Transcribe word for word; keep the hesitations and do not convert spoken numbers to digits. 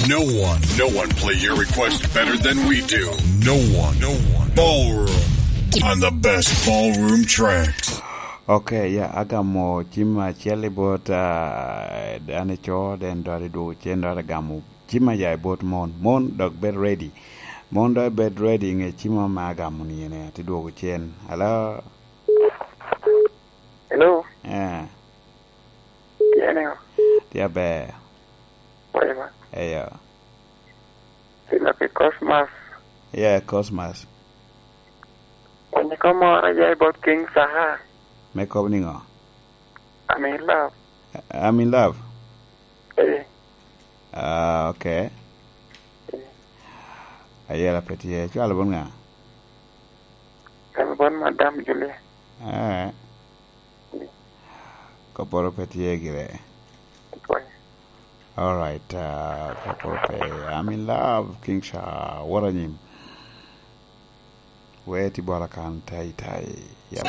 No one, no one play your request better than we do. No one, no one. Ballroom on the best ballroom tracks. Okay, yeah, agamo cim acel i bot, ah, dano ico, den dot idwogo cen, dot agamo cim aya i bot mon. Mon dok bed ready. Mon dok bed ready, nge cim ame agamo ni ene, ti dwogo cen. Hello? Hello? Eh. Tye niŋo? Tye aber. Pwoyo ba. Eyo. Tye lok i Cosmas. Yeah, Cosmas. Onyi kom moro ya i bot King Saha. Me kobo niŋo? I'm in love. I'm in love? Eh. Ah, okay. Eh. Ayela pe tye. Cwalo bot ŋa? Cwalo bot Madam Julia. Eh. Eh. Kopporo pe tye gire. Pwoyo. All right, uh, kopporo pe. I'm in love, King Sha. What a name. Where ti bora kan tai tai. Yep.